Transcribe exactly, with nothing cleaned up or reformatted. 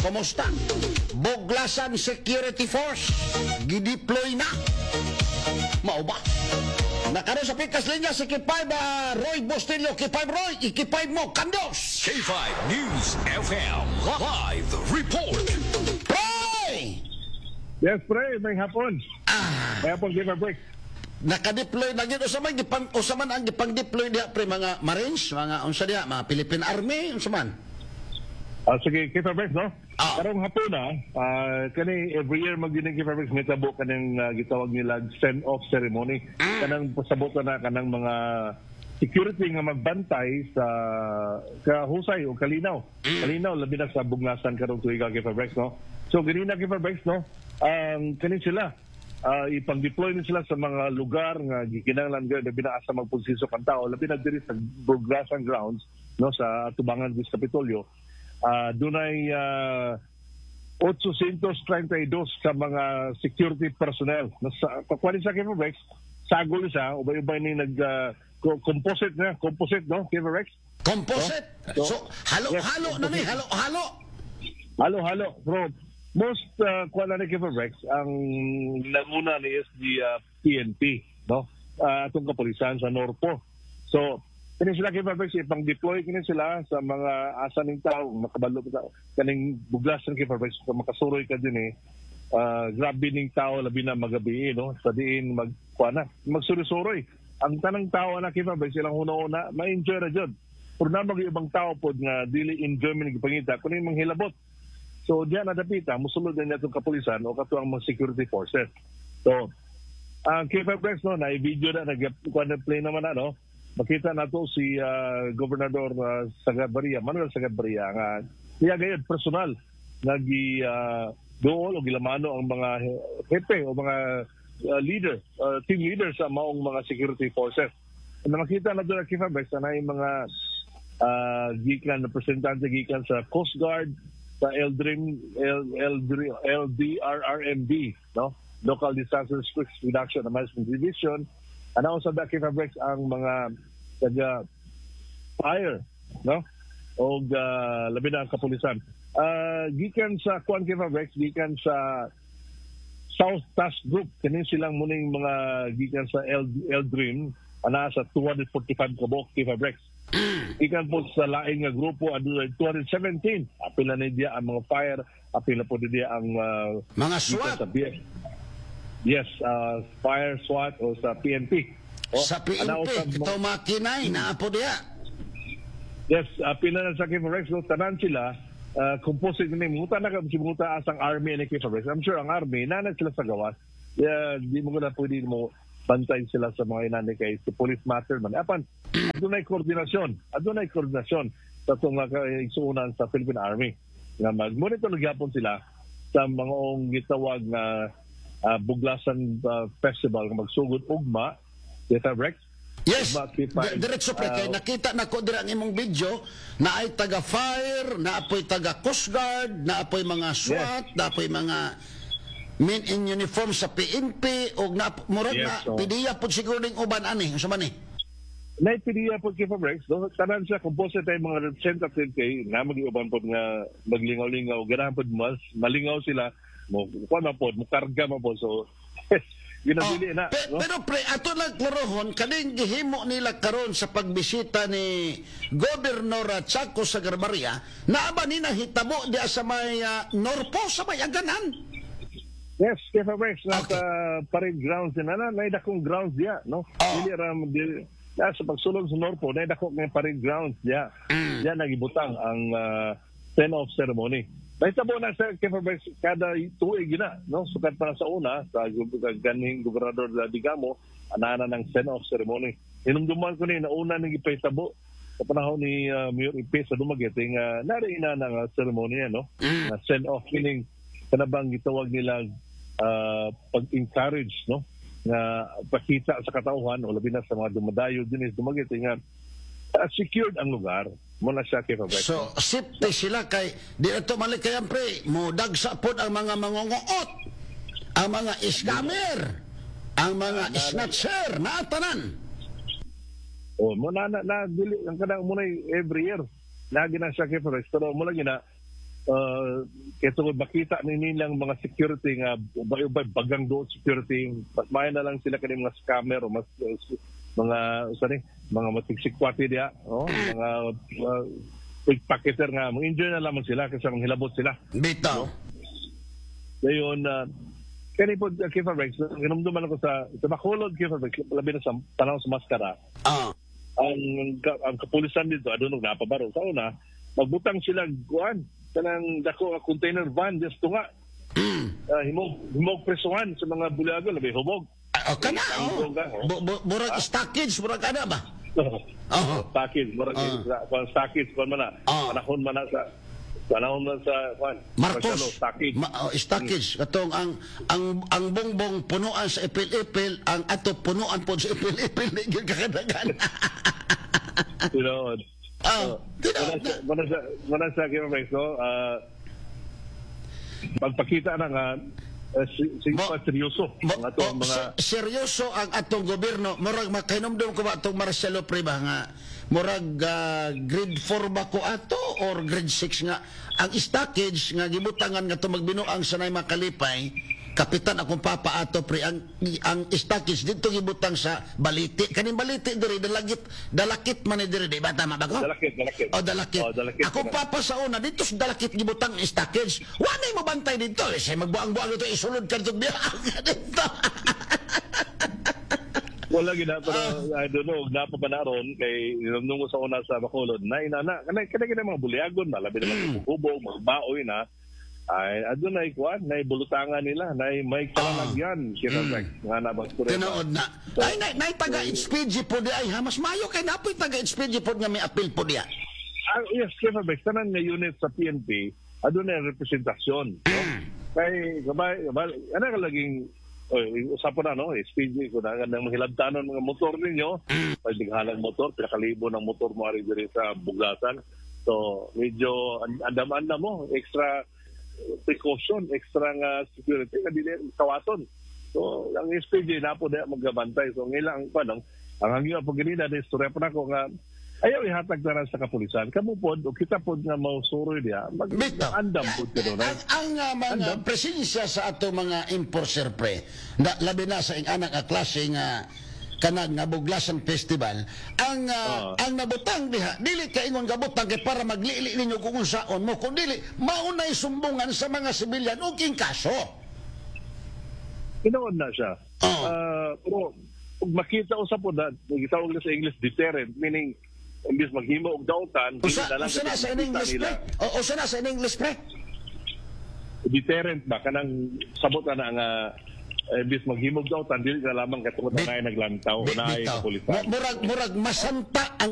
Kumusta? Buglasan Security Force gideploy na. Mao ba? Nakaroon sa pikas linya si K five uh, Roy Bustillo. K five Roy, i-K five mo, kandos! K five News F M Live Report. Roy! Yes, pre, maayong hapon. Ah, Maayong hapon, give a break. Nakadeploy na gyud. Usa man gipang usa man ang gipang-deploy diha, pre? Mga Marines, mga unsa diha, mga Philippine Army, unsa man? Ah, sige, give a break, no? Ah. Karong hapon na, ah, kani every year magyud give a break, mitabo kaning uh, gitawag nila send-off ceremony. Kanang pasabot na kanang mga security nga magbantay sa kahusay o kalinaw. Kalinaw labi na sa Buglasan karong tuiga, give a break, no? So ganina, give a break, no? Ang kani sila uh, ipang-deploy ni sila sa mga lugar nga gikinahanglan gyud, labi na asa magpulsisok ang tao, labi na diri sa Buglasan grounds, no, sa atubangan sa Kapitolyo. Uh, dunay uh, eight hundred thirty-two ka mga security personnel. Nasa kuan sa K five Rex, sagol siya, ubay-ubay ni nag uh, composite na, composite, no, K five Rex? Composite. No? So halo-halo Yes, na ni, halo-halo. Halo-halo. Bro, most uh, kuan na ni K five Rex, ang nanguna ni is the uh, P N P, no? Uh, atong kapulisan sa Norpo. So, kini sila, K five Rex, ipang-deploy kini sila sa mga asa ning tao, makabalo ka kaning Buglasan, K five Rex, kung makasuroy ka din eh, uh, grabe ning tao labi na magabi, no? Sa diin mag kuan na, magsuroy-suroy. Ang tanang tao na, K five Rex, silang una-una, ma-enjoy ra jud. Pero na mag ibang tao pod nga dili enjoyment gipangita, kuno yung manghilabot. So diyan na dapita, musulod na niya itong kapulisan o katong mga security forces. So, ang K five Rex, no, na video na nag kuan play naman na, no. Makita nato si uh, Gobernador uh, Sagarbarria, Manuel Sagarbarria nga niya gayud personal nagi uh, dool o gilamano ang mga hepe o mga uh, leader, uh, team leader sa maong mga security forces. Na makita na doon ang K five Rex na yung mga uh, gikan representante gikan sa Coast Guard, sa L D R M, L, L, L D R R M D, no? Local Disaster Risk Reduction and Management Division. Ano sa K five Rex, ang mga taga fire, no? O uh, labi na ang kapulisan. Uh, gikan sa kuan, K five Rex, gikan sa South Task Group, kini silang muning mga gikan sa L, L-Dream, ana sa two hundred forty-five kabuok, K five Rex. Gikan po sa laing nga grupo adunay two hundred seventeen. Apil na ni diya ang mga fire, apil na po ni diya ang uh, Mga gikan SWAT. sa B F. Yes, uh, fire, SWAT o sa P N P. O, Sa ana P N P, usab mo- ito makinay na po diya. Yes, apil na sa K five Rex, no, tanan sila uh, composite ni muta na si muta asang army ni K five Rex. I'm sure ang army na sila sa gawas. Yeah, di mo na pwede mo bantay sila sa mga inani kay si police matter man. Apan adunay koordinasyon, adunay koordinasyon sa itong uh, kaigsuonan sa Philippine Army nga mag-monitor gyapon sila sa mga gitawag nga uh, Buglasan uh, Festival nga magsugod ugma, K five Rex. Yes, Ugma, K five. di- diretso, pre, kay Uh, nakita na ko dira ang imong video na ay taga fire, na apoy taga Coast Guard, na apoy mga SWAT, na apoy mga men in uniform sa P N P og na murag Yes, na so- P D A pud siguro ning uban ani, unsa man ni? Naipiliya po kay Rex, no? Tanan siya, composite tayo mga representative kay na mag-iuban po nga maglingaw-lingaw, ganahan po mas malingaw sila, mo kuan man po, mo karga man po. So, ginabili na. Oh, Pe- no? Pero pre, ato lang klarohon, kaning gihimo nila karon sa pagbisita ni Gobernador Chaco Sagarbarria, naa ba ni nahitabo diya sa may ah, Norpo, sa may Aganan? Yes, K five Rex, nasa Okay. parade grounds din. Ana, may dakong grounds diya, no? Oh. Dili ra di, na, sa pagsulod sa Norpo, na dako nga parade grounds diya. Mm. Diya nagibutang ang uh, send-off ceremony. Nahitabo na sa K five Rex kada tuig na, no? Sukad pa na sa una, sa gu- ganing Gobernador Digamo, anana ng send-off ceremony. Hinumduman ko ni, nauna nang ipahitabo sa panahon ni uh, Mayor Ipe sa Dumaguete nga nari na ng uh, ceremony, no? Mm. Na send-off meaning kanabang gitawag nila uh, pag-encourage, no, nga pakita sa katauhan o labi na sa mga dumadayo din is Dumaguete nga uh, secured ang lugar mo na siya, K five Rex. So, safety sila kay di na to malikayan, pre, mo dagsa pod ang mga mangongoot, ang mga scammer, ang mga snatcher, na tanan. O mo na na, na dili ang kanang mo na every year lagi na siya, K five Rex, pero mo lagi na uh, Kaya tungod makita ni nilang mga security nga ubay-ubay bagang doon security, mas maayo na lang sila kani mga scammer o mas uh, mga sorry, mga matigsikwati diya, oh, mga uh, pickpocketer nga mag-enjoy na lamang sila kaysa manghilabot sila. Bitaw. Ngayon, uh, kani po, uh, Kefa Rex, hinumduman ako sa, sa Bacolod, Kefa Rex, labi na sa panahon sa maskara, Ah. ang, ang kapulisan dito, I don't know, napabaro. Sa una, magbutang sila, kuan, kanang dako nga container van, just tunga. Mm. Uh, himog, himog presuhan sa mga buliago, labi hubog. Ah, oh, kana oh. Ka, oh. Bu, bu, murag stockage, murag ana ba? Oo. Stockage, murag Ah. sa kuan stockage, kuan man na. Ah. Panahon man na sa panahon man sa kuan. Marcos. Marcelo, stockage. Ma, oh, stockage katong ang ang ang bongbong punuan sa ipil-ipil, ang ato punuan pod sa ipil-ipil di gyud kakadagan. You know, Ah, tinuod na. Muna sa muna sa Kefa Rex, no? Ah, pagpakita na nga uh, si, si, Mo- seryoso Mo, ang ato ang oh, mga se- seryoso ang atong gobyerno. Murag makahinumdum ko ba atong Marcelo pre ba nga murag ah, grade four ba ko ato or grade six nga ang stockage nga gibutangan nga to magbinuang sa nay makalipay kapitan akong papa ato pre, ang ang stockage dito gibutang sa baliti, kaning baliti diri dalagit, dalakit man ni diri, di ba, tama ba ko? Dalakit, dalakit. O dalakit. Oh, dalakit. Akong papa sa una dito sa dalakit gibutang stockage. Wa nay mo bantay dito eh, say magbuang-buang dito, isulod ka dito biya dito. Wala gid na, pero Ah. I don't know napa pa na ron kay nung ko sa una sa Bacolod na ina na kanay kanay kanay mga buliagon na labi naman mm. hubog magbaoy na ay adto na kuan na bulutangan nila na may kalalagyan sila mm. nga na ba? Tinuod na. Ay nay nay taga H P G po di ay ha, mas mayo kay napoy taga H P G po nga may apil po diya. Ah, yes, Kefa Bex, tanan nga unit sa P N P, aduna representasyon. No? Kay, gabay, gabay, ano ka laging, oy, usapan na, no? S P G, kung na nang mahilabtanon mga motor ninyo, pag dighalang motor, pinakalibo ng motor mo ari diri sa Buglasan. So, medyo an- andam-andam mo, extra precaution, extra nga security, nga dili kawaton. So, ang S P G na po na magabantay. So, ang ilang, ano, ang hangyo po ganina, na istorya pa nako nga, ayaw ihatag na sa kapulisan. Kamu pod, o kita pod nga mausuroy diya, mag Bitaw. andam pod ka doon. Ang, ang uh, mga presensya sa ato mga enforcer pre, na, labi na sa ing-anak nga klase nga kanang nga Buglasan Festival, ang uh, Oo. ang nabutang diha, dili ka ingon gabutang kay para maglili ninyo kung unsaon mo, kun dili maunay sumbungan sa mga sibilyan og king kaso. Tinuod na siya. Oo. Ah, pero kung makita usa po na, gitawag na sa English deterrent, meaning imbis maghimo og dautan, dili Usa na lang usa na kasi sa makita English nila. pre? O usa na sa English pre? Deterrent ba kanang sabot na na nga uh, imbis maghimog dautan dili na lamang katungod na naay naglantaw Bi- naay bitaw. kapulisan. Murag murag masanta ang